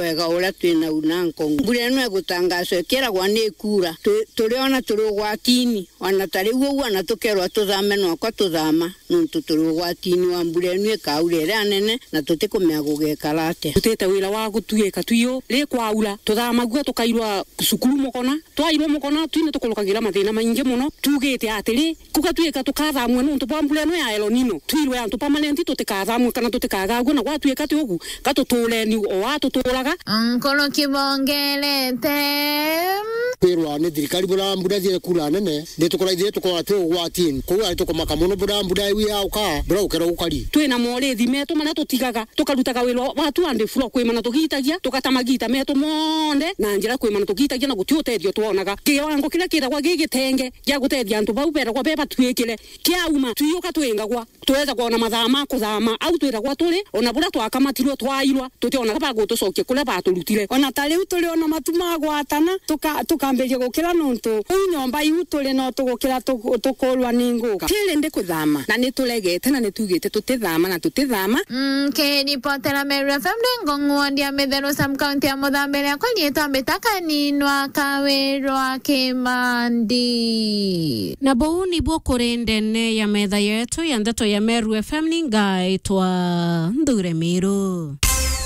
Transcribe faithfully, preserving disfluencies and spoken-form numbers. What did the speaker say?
wega uria twi nau na nkongu. Mbura ino igutangaswa ikiragwa ni ikura. Tu-, turiona turi ugwatini. Ona ta riu uu, ona tukerwa tuthame, nwakwa tuthama, nontu turi ugwatini wa mbura ino ikaura iria nene, na tutikumenya gugekara atia. Tutite wira wa gutuika tuiu, ri kwaura, tuthamagua tukairwa cukuru Mukona. Twairwa Mukona, twine tukurukagira mathina maingi mono. Tugite atiri, kugatuika tukathamua nontu bwa mbura ino ya El Nino, twirwe antu permanent tutikathamue kana tutikagagua, na gwatuika ti ugu, ka tutureni o aa tuturaga. Nkoro kibongerete. Kwirwa ni thirikari bura mbura thie kura nene, ni tukora ithuĩ tukorwa twi ugwatini. Kou ari tukumaka mono bura mbura iu yauka, bura ukera gukari. Twina morithi metu maria tutigaga, tukarutaga wira wa tu and fro, kwimana tugitagia, tugata magita metu monthe na njira kwimana tugitagia, na guti utethio twonaga. Kiwango kiria kiragwa gi gitenge gia gutethia antu bau beragwa be batuikire, kiauma, twiuka twingagwa. Tweza kwona mathaa ma kuthama, au twiragwa turi, ona buria twakamatirwe twairwa, tutionaga ba gutucokia kuria baturutire. Ona ta riu turi ona matu ma gwatana, tuka-, tukambiria gukira nontu kuu nyomba iu turi no tugukira tu-, tukurwa ni nguka. Tiri ndi kuthama, na ni turegete na ni tugite tutithama na tutithama. Mm, kiripotera Meru F M ni Ngong'u ward ya Mitheru sub county ya Muthambiria kwa riitwa Mbita Kaninwa Kawirwa Kimandi. Na buu nibuo kuri ndene ya metha yetu ya ndeto ya Meru F M, ni ngaitwa Nthure Miru.